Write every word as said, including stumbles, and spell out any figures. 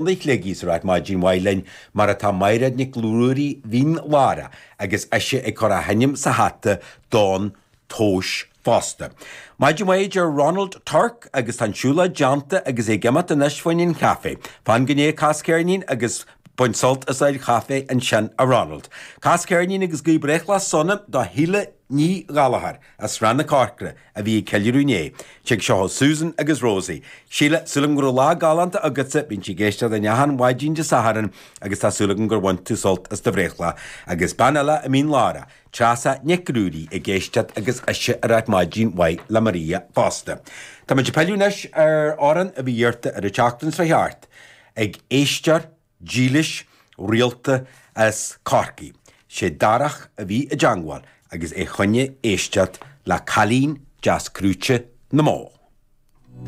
Shligigh is ag ráit maidin mhaith linn mar atá Mairéad Nic Ruairí Mhín Lárach agus ise ag cur a hainm sa hata don tomhas fosta. Maidin mhaith a deir Ronald Turk agus tá an siúlóid déanta agus é ag imeacht anois fá choinne an chaife. Fan go ndéidh cas ceirnín agus bain sult as do chaife ansin a Ronald. Cas ceirnín agus guí breithlá sona do Shíle Ní Ghallchóir as Srath na Corcra a bhí ag ceiliúradh inné. Tig seo ó Susan agus Rosie. Síle, súil agam go raibh lá galánta agatsa, bíonn sí ag éisteacht linn achan mhaidin Dé Sathairn agus tá súil agam gur bhain tú sult as do bhreithlá. Agus bean eile i Mín Lárach, Treasa Nic Ruairí ag éisteacht agus ise ag ráit maidin mhaith le Maria fosta. Tá muid ag pilleadh anois ar amhrán a bhí iarrta ar an tseachtain seo thart ag éisteoir dílis rialta as Corcaigh. Sé Darach a bhí i dteangmháil agus é chun éisteacht le Cailín Deas Crúite na mBó.